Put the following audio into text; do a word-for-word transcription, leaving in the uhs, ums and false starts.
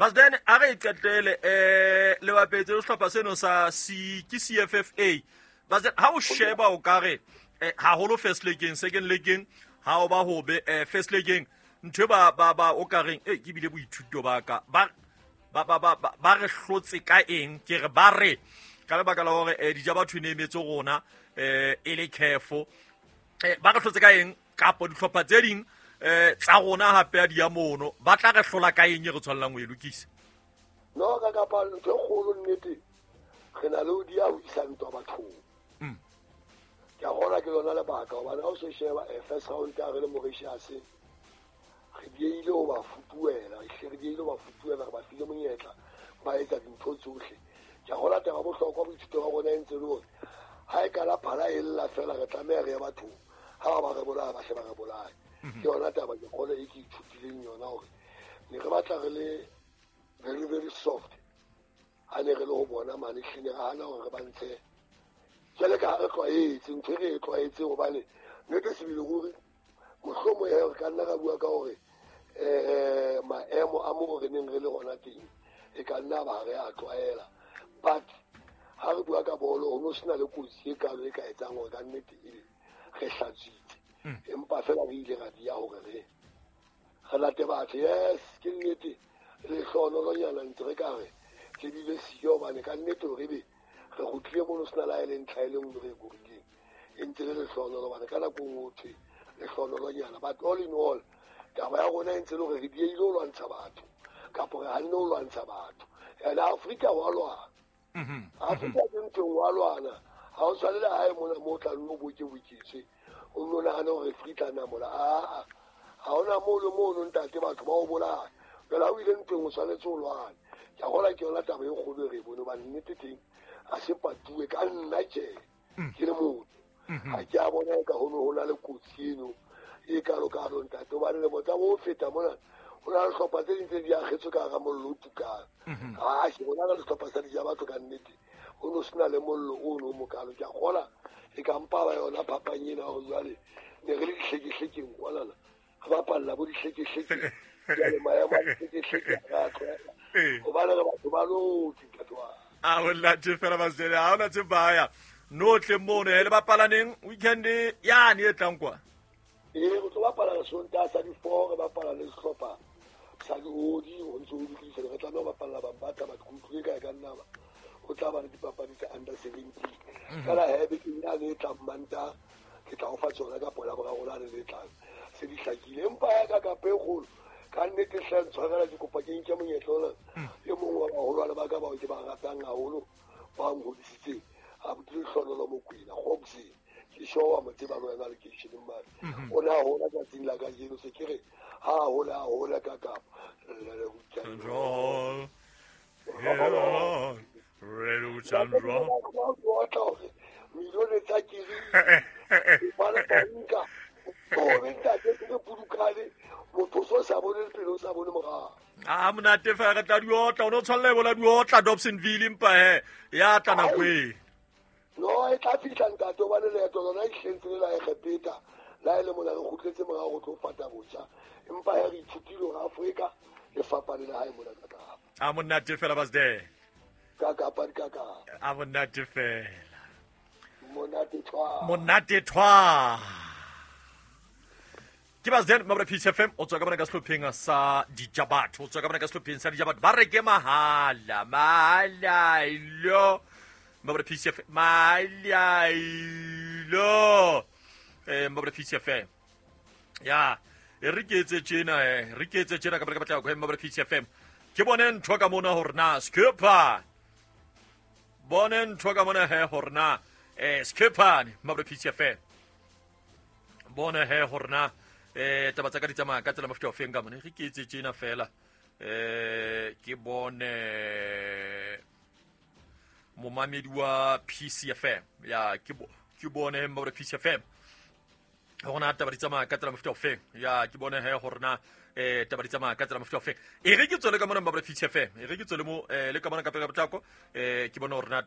Basden a re qetele eh le bapetse sehlopha seno sa C ke C F F A. Basden ha o sheba o ka re haholo first league, second league ha o ba hobe eh first league ntho ba ba ba o ka reng eh ke bile boithuto ba ka ba ba ba ba ba re hlotse ka eng ke re ba re ka lebaka la hore eh dija batho ne emetse rona eh e le careful eh ba re hlotse ka eng kapo dihlopha tse ding eh tsa rona hape a di ya mono ba tla re hlola ka eng e re tshwanelang ho e lokisa no ka kapa ntho e kgolo nnete re na le ho di ya ho isa ntwa bathong mm ke a bona ke lona lebaka hobane ha o se sheba first round ya re le Mauritius re dieile ho ba futuela re dieile ho ba futuela re ba file monyetla ba etsa dintho tsohle ke a gola taba bohlokwa boithuto ba rona e ntse le hore ha e kala phala e lla fela re tlameha re ye bathong ha ba re bolaya ba hle ba re bolaya ke yona taba ke kgolo e ke ithutileng yona hore ne re batla re le very very soft ha ne re le ho bona mane hlile re hana hore re ba ntshe jwale ka ha re tlwaetse ntho e re e tlwaetse hobane nnete sebele ruri mohlomong ya re ka nna ra bua ka hore eh maemo a mo re neng re le hona teng e ka nna ba re a tlwaela but ha re bua ka bolo ho no sena le kotsi e kalo e ka etsang hore ka nnete ebe re hlatswitse empa fela re ile ra dia hore re re late batho yes ke nnete lehlohonolonyana ntse re ka re le bile siyo hobane ka nnete hore ebe re kgutlile mono sena la e le ntlha e le nngwe re e korileng e ntse le lehlohonolo hobane ka nako e nngwe ho thwe lehlohonolonyana but all in all taba ya rona e ntse le hore re dieile ho lwantsha batho kapo re hanne ho lwantsha batho and Afrika wa lwana Afrika ke ntho wa lwana ha o tshwane le hae mona mo tla nno bokeboketswe o nno nahane hore free tla namola aa ha hona moo le mono ntate batho ba o bolaya jwale ha o ile ntweng o tshwanetse o lwane ke a gola ke yona taba e kgolo e re e bone hobane nnete teng a se patuwe ka nna tjhe ke le motho ha ke a bona e ka ho no ho na le kotsi eno e kalo-kalo ntate hobane lemo tsa bo feta mona ho na le hlopha tse ding tse di akgetswe ka hara mollo o tukang a ke bona ka sehlopha sa dija batho ka nnete ho no sena le mollo ono o mokalo ke a kgola e ka mpa ba yona phapang ena hore jwale ne re le dihlekehlekeng kwanana re bapalla bo dihlekehleke jwale maemo a dihlekehleke ha re a tlwaela hobane re batho ba lotse ntate wa a o late fela basele ha ona tse baya no tle mono le bapalaneng weekend yane e tlang kwa ee re tlo bapala Sontaha sa di-four re bapala le sehlopha sa diodi ho ntse ho lokisa re tlameha ho bapalla Bambatha batho ke utlwile kae ka nna ba ho tla ba le dipapadi tsa under seventeen fela he bekeng yane e tlang Mantaha ke tla o fa tsona ka pola boraro lane le tlang se di hlakile empa ya ka kapa e kgolo ka nnete hle ntshwarela ke kopa ke nke monyetla ona e mong wa baholwane ba ka bao ke ba ratang haholo ba nhodisitseng abuti Lehlohonolo Mokwena Gobseng ke sure wa mo tseba le wena lekeisheneng mane o ne a hola tsatsing la kajeno se ke re ha a hola a hola ka kapa milione tsa kiri bana banka o ntate ke pudukane motho so sa bone pele o sa bone morao a monate fa re tla di otla o no tshwanela e bola di otla Dobsonville empa he ya tla nako e no e tla fihla ntate hobane leeto lona e hlentse le la Egepeta la e le mona re kgutletse morao go tlo fata botjha empa he re ithutile hore Afrika e fapane le hae mona ka Kapa a monate fela basde ka Kapa di ka Kapa a monate fela monate thwa monate thwa ke Basden mabra P C F M o tswa ka bona ka sehlopheng sa Dijabatho o tswa ka bona ka sehlopheng sa Dijabatho ba re ke mahala mahala ilo mabra P C F M mahala ilo eh mabra P C F M ya e re ke etse tjena eh re ke etse tjena ka bona ka batla go mabra P C F M ke bone ntho ka mona hore na skipper bone ntho ka mona he hore na eh skipper mabra P C F M bone he hore na eh taba tsa ka di tsamaya ka tsela mofuta o feng ka mone re ke etse tjena fela eh ke bone momamedi wa P C F M ya ke ke bone mabra P C F M hore na taba di tsamaya ka tsela mofuta o feng ya ke bone he hore na eh taba di tsamaya ka tsela mofuta o feng e re ke tswele ka mona mabra P C F M e re ke tswele mo le ka mona ka pele ka potlako eh ke bone hore na